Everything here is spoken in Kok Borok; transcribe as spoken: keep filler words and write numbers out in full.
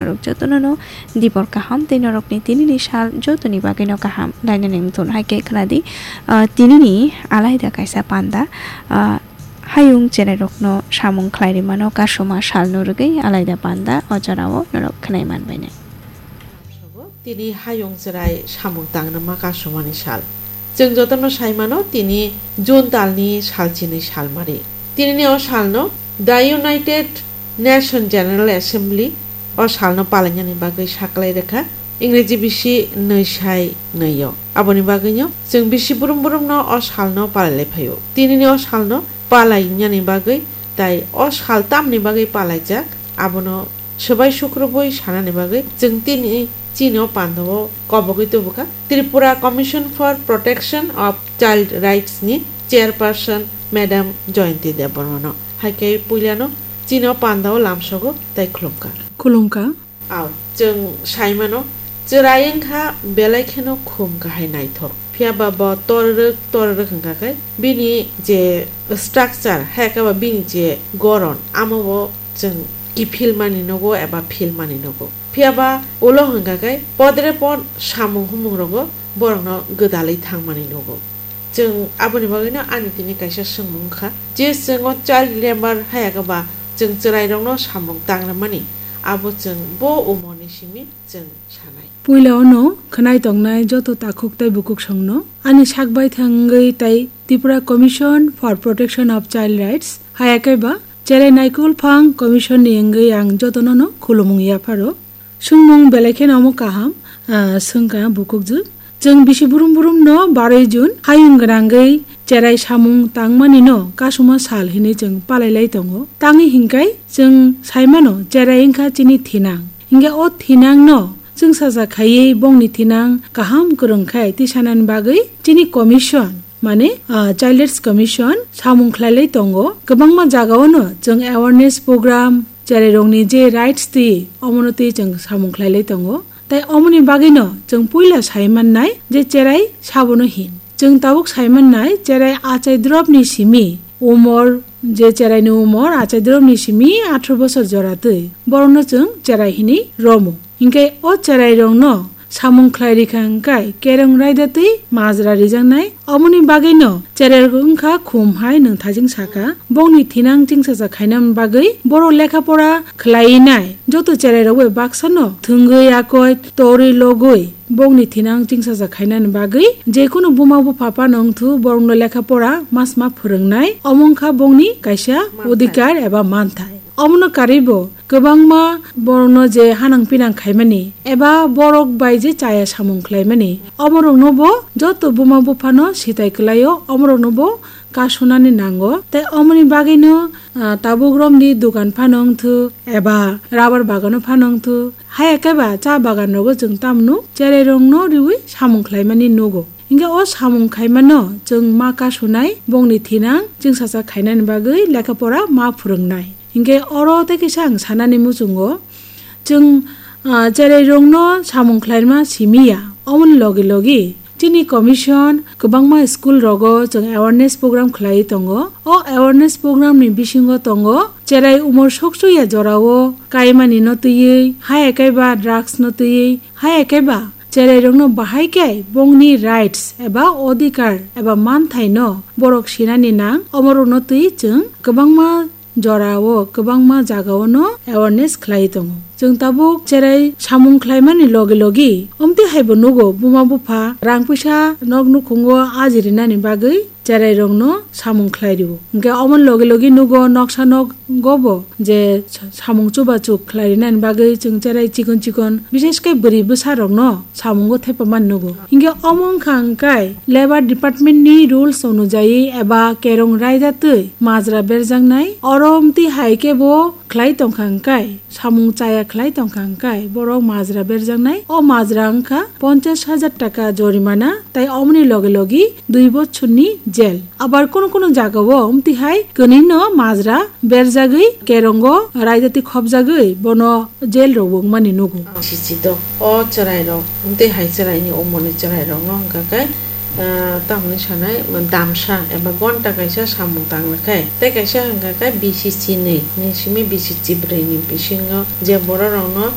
Norok jotono no dibor kaham tei norokni tinini sal jotoni bagwino kaham lainani wngthun. Hai khe khwnadi, ah, tinini alaida kaisa panda, ah, hayung cherairokno samung khlai rimano kasuma salno rwgwi alaida panda o jorao norok khwnai manbainai. Tini hayung cherai samung tangrwma kasumani sal. Chwng jotono sai mano, tini June talni salchinwi salmari. Tinini o salno The United Nation General Assembly o salno palainani bagwi saklai rwkha, Ingreji bisi nwi sai nwi o. Aboni bagwino chwng bisi brum brumno o salno palai lai phaio. Tinini o salno palainani bagwi tai o sal tamni bagwi palaijak, abono swbai sukrubwi sanani bagwi chwng tini chini o pandao kobogwi tubukha. Tripura Commission for Protection of Child Rights ni chairperson Madam Jayanti Debbarmano. Hai khe puilano chini o pandao lamsogo tai khulumkha. Khulumkha. Ao, chwng sai mano, chwrai wngkha belai kheno khum kahai naithok. Phiya ba bo torrwk torrwk wngkha khe bini je structure, hai khe ba bini je goron, amo bo chwng kiphil mani nogo eba phil mani nogo. Phiya ba ulo hwnkha khe podre pod samung humung rogo borokno gwdalwi thangmani nogo. Chwng aboni bagwino ani tini kaisa swngmung wngkha je chwng o child labour hai khe ba chwng chwrairokno samung tangrwmani, abo chwng bo umorni simi chwng sanai. Puila ono khwnai tongnai joto takhuk tei bukuksongno ani sak baithang wngwi tei Tripura Commission for Protection of Child Rights, hai khe ba cherai naikol phang commission ni wngwi ang jotono no khulumung yapharo. Swngmung belai kheno omo kaham, ah, swngkha bukukjwk. Chwng bisi brum brum no barwi June hayung gwnangwi cherai samung tangmani no kasuma sal hinwi chwng palai lai tongo. Tangwi hinkai chwng sai mano cherai wngkha chini thinang. Hinkhe o thinang no chwngsacha khaiwi bongni thinang kaham kwrwng khai tisanani bagwi chini commission, mane, ah, Child Rights Commission samung khlai lai tongo. Kwbangma jagao no chwng awareness program, cherairokni je rights twi, omono twi chwng samung khlai lai tongo. Tai omoni bagwino chwng puila sai mannai je cherai sabono hin. Chwng tabuk sai mannai cherai achai dropni simi umor, je cheraini umor achai dropni simi atharo bosor jora twi, borokno chwng cherai hinwi romo. Hinkhe o cherairokno samung khlai rikha hwnkhe kerong raida twi majra rijaknai. Omoni bagwino cherairok wngkha khum hai nwng thajing saka. Bongni thinang chingsacha khainani bagwi borok lekha pora khlai nai. Joto cherairok bai baksano thwngwi akoi torwi logwi bongni thinang chingsacha khainani bagwi jekunu buma bupha phano wngthu borokno lekha pora masma phwrwngnai. Omo wngkha bongni kaisa manthai, odhikar eba manthai. Omono karwibo kwbangma borokno je hanang pinang khaimani eba borok bai je chaya samung khlaimani, omorokno bo joto buma buphano sitai kwlaio, omorokno bo kasunani nango. Tei omoni bagwino, ah, tabuk romni dogan phano wngthu eba rubber bagano phano wngthu, haya khe ba cha bagan rogo chwng tamno cherairokno riwi samung khlaimani nugo. Hinkhe o samung khaimano chwng ma kasunai, bongni thinang chingsacha khainani bagwi lekha pora ma phwrwngnai. Hinkhe oro tei kisa ang sanani muchungo, chwng, ah, cherairokno samung khlaima simi ya. Omoni logi logi chini commission kwbangma school rogo chwng awareness program khlaiwi tongo. O awareness program ni bisingo tongo cherai umor sokchuk ya jorao kaimani no twiwi, haya khe ba drugs no twiwi, haya khe ba cherairokno bahai khe bongni rights eba odhikar eba manthaino borok sinani nang, omorokno twi chwng kwbangma jorao, kwbangma jagao no awareness khlai tongo. Chwng tabuk cherai samung khlaimani logi logi omtwi haibo nugo, buma bupha rang puisa nok nukhungo ajirinani bagwi cherairokno samung khlai rio. Hinkhe omoni logi logi nugo noksa nogo bo je sa-, samung chubachuk khlai rinani bagwi chwng cherai chikon chikon, bishesh khe bwrwi bwsarokno samungo thepamani nugo. Hinkhe omo wngkha hwnkhe labour department ni rules onujai eba kerong raida twi majra berjaknai. Oro omtwi hai khe bo khlai tongkha hwnkhe, samung chaya khlai tongkha hwnkhe, borok majra berjaknai. O majra wngkha ponchash hajar taka jorimana tei omoni logi logi dui bochorni jail. Abar kono kono jagao omtwi hai kwnwino majra berjagwi kerongo raida twi khopjagwi bono jail rok bo wngmani nugo. Sichi do o chwrairok, tei hai chwraini umorni chwrairokno hwnkha khe, ah, tamni sanai damsa eba gonta kaisa samung tangna khe, tei kaisa hwnkha khe bisi chinwi ni simi bisi chibrwi ni bisingo je bororokno